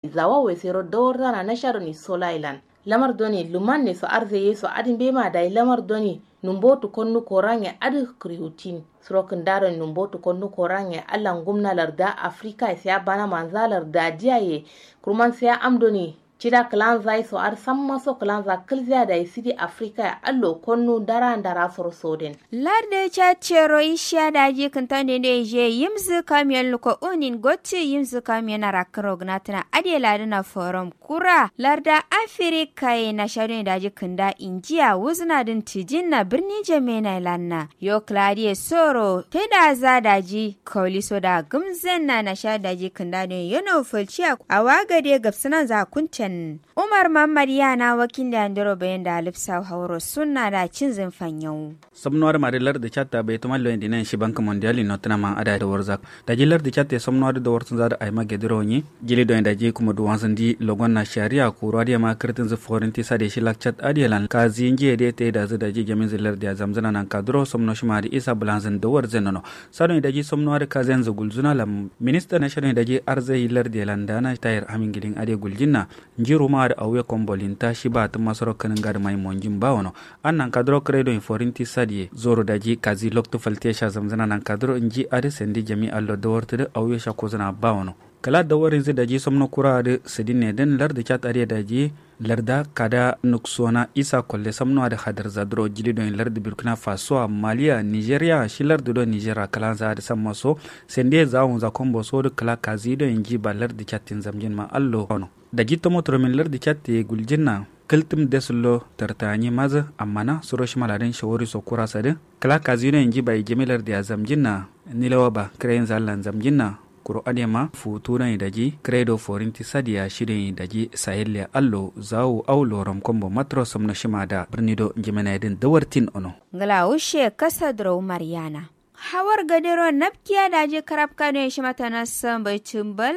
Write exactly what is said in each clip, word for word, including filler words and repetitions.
Zawawe sero dawarzana nasha done sola ye lan lamar done lumanne so arzaye so adǝ mbema dayi lamar done numbotu konnu korange adǝ kriwutin. Suro kǝnda done numbotu konnu korange allan gumna larda afrika ye siya bana manza larda diya ye. Kurman siya am done cida kǝlanza ye so adǝ samma so kǝlanza kǝlziya dayi sidi afrika ye allo konnu ndara ndara soro soden. Lardǝ chat cero ishiya daji kǝntan dende je yimzǝ kamiyon luko unin gottǝ yimzǝ kamiyon arakkǝro gǝnatǝna adǝ ye ladǝna forum kura larda afirika ye nasha done daji kǝnda injiya wuzǝna dǝn tǝjinna birni jemena ye lanna yo kǝla adǝ ye soro taidaza daji kauliso da gǝmzenna nasha daji kǝnda done yeno falciya awa gade gabsǝnanza kunten. Umar muhammad yana wakil da andero bayan da alifsa hauro sunna da cinzin fanyau. Samnuwa dǝ mari lardǝ chatta bai tumal loyin dinayin shi bank mondial ino tǝna ma ada da warzak. Daji lardǝ chatta samnuwa dǝ da warzun za dǝ aima gediro nyi jili doyin daji kuma duwanzun di logon na shari'a kuru adiya ma kǝrtǝn zǝ forin tisa de shi lak chat adiya lan kazi njiye de ta yi da zǝ daji jamin zǝ lardǝ ya zamzuna nan kaduro samno shi ma dǝ isa bulanzun da warzun nono. Sa doyin daji samnuwa dǝ kazi yanzǝ gulzuna lam minister na sha doyin daji arzai lardǝ ya lan dana tayir amin gilin adiya guljin na. Nji ruma adǝ auye kombo linta shi ba tǝmma soro kǝnǝnga dǝ mai monjin ba wono. An nankaduro kǝre doi forinti sadiye zoro daji kazi loktu falte sha zamzǝna nankaduro nji adǝ sandi jami allo dawartǝ dǝ auye sha kozǝna ba wono. Kǝla dawarinzǝ daji somno kura adǝ sǝdinne dǝn lardǝ chat adǝ ye daji larda kada nuksona isa kolle somno adǝ hadarza duro jili doi lardǝ burkina faso a maliya nigeria shi lardǝ do nigeria kǝlanza adǝ samma so sandi ye zawunza kombo so dǝ kǝla kazi doi nji ba lardǝ chattin zamjin ma allo wono. Daji tomo turomin lardǝ catte guljinna kǝltǝm desullo tartani mazǝ. Ammana suro shimaladǝn shawari so kura sadǝ kǝla kazino ye nji bayi jami lardǝ ya zamjinna. Nilewa ba kǝrayinzǝ allan zamjinna kuro adǝ ye ma futu doi daji kǝrayi do forinti sadiya shi doi daji sayelle allo zawu au lorom kombo matro somno shima da birni do njimena yedǝn dawartin ono. Ngla wushe kasa duro umar yana. Hawar gadero napkiya daji karabka doi shima tanassǝ mbai cǝmbal.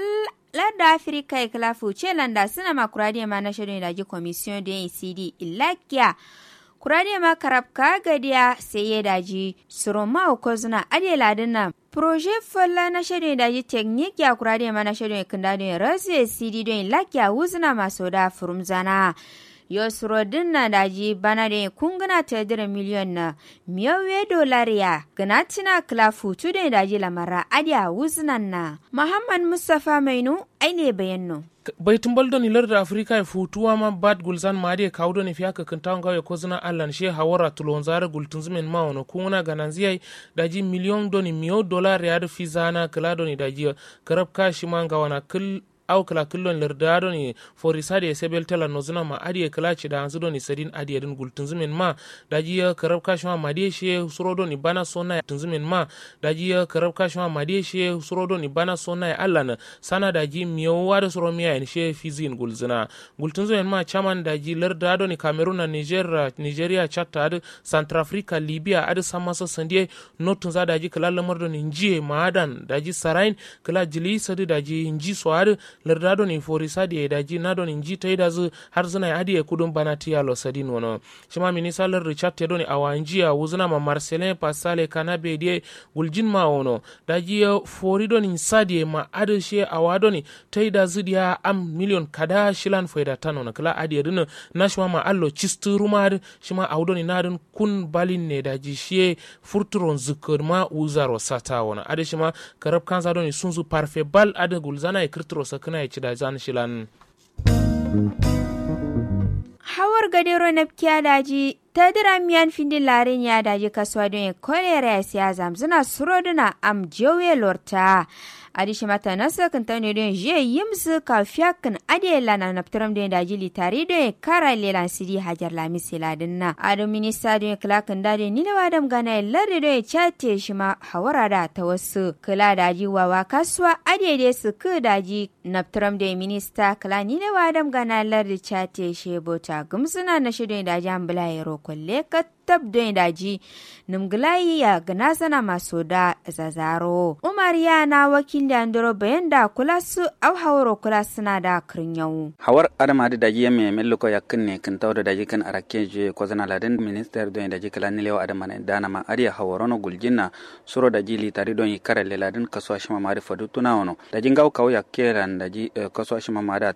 Ladda afirika ye kǝla fuce landa sǝna ma kura dǝ ye ma nasha doi daji komisiyon doi sidi illakiya. Kura dǝ ye ma karabka gadiya sai ye daji suro ma wuko zǝna adǝ ye ladǝ na proje falla nasha doi daji teknik ya kura dǝ ye ma nasha doi kǝnda doi rasu ye sidi doi illakiya wuzǝna ma soda furumzana. Yo suro dǝnna daji bana doi kungǝna tedǝrǝ miliyon na miyau ye dolar ya gǝnatǝna kǝla futu doi daji lamarra adǝ ya wuzǝnan na. Muhammad mustafa mainu aine bayanno. Bai tǝmbal doni lardǝ afrika ye futu wama bat gulzan ma adǝ ye kawu doni fiya kǝkkǝntawu ngawu ye kozǝna allan shiye hawara tulonza adǝ gultǝnzǝmen ma wono kungǝna gananzǝ yayi. Daji miliyon doni miyau dolar ye adǝ fizana kǝla doni daji ye karabka shima ngawana kǝl. Au kǝla kǝllon lardǝ adoni forisa dǝ ye sebel tela nozǝna ma adǝ ye kǝla cidawanzǝ doni sadin adǝ ye dǝn gultǝnzǝmen ma. Daji ye karabka shima madiye shiye suro doni bana sona ye tǝnzǝmen ma. Daji ye karabka shima madiye shiye suro doni bana sona ye allan sana daji miyau adǝ suro miya yen shiye fizǝ yen gulzǝna. Gultǝnzǝmen ma caman daji lardǝ adoni kamerun na nigeria nigeria chatta adǝ santrafrika libia adǝ samma so sandiye. Nottunza daji kǝla lamar doni njiye ma adan daji sarayin kǝla jiliyi sadǝ daji nji so adǝ larda doni forisa diye daji na doni nji taidazǝ har zǝnai adǝ ye kudun bana tiya lo sadin wono. Shima minista lardǝ chatte doni awa nji ya wuzǝna ma marcelin pasale kanabe diye guljin ma wono. Daji ye fori doni sadiye ma adǝ shiye awa doni taidazǝ diya am miliyon kada shilan faida tano na kǝla adǝ ye dǝnǝ. Na shima ma allo cistǝ ruma adǝ shima awu doni na dǝn kun balin ne daji shiye furturo nzǝkkǝ ma wuzaro sata wono adǝ shima. Karabkanza doni sunzǝ parfe bal adǝ gulzana ye kǝrtǝro sakkǝna ye cidazan shilan. Hawar gadero napkiya daji tadǝ ramiyan findin larin ya daji kasuwa done kolera ya siya zamzǝna suro dǝna am jauye lorta. Adǝ shima tanassǝ kǝntane done jiye yimsǝ kawu fiyakkǝn adǝ ye lana naptǝram done daji litari done kara lelan sidi hajar lamis ye ladǝnna adǝ minista done kǝla kǝnda done nilewa dam gana ye lardǝ done cate shima hawar adǝ a tawassǝ kǝla daji wawa kasuwa adǝ ye de sǝkkǝ daji. Naptǝram doi minista kǝla nilewa dam gana lardǝ cate she bota gǝmsǝna nashe doi daji ambǝla yero kolle kattab doi daji. Nǝmgǝlayi ya gǝnasana masoda zazaro umar yana wakil ya ndoro bayan da kulassǝ au hawaro kulassǝna da kǝrnyawu. Hawar adǝ ma adǝ daji yamme yamme luko yakkǝnne kǝntawu do daji kǝn arakke juye kozǝna ladǝn minister doi daji kǝla nilewa adǝ ma danama adǝ ye hawaro no guljinna. Suro daji litari doi karalle ladǝn kasuwa shima ma adǝ faduttuna wono. Daji ngawo kawu yakkelan daji kasuwa shima ma adǝ.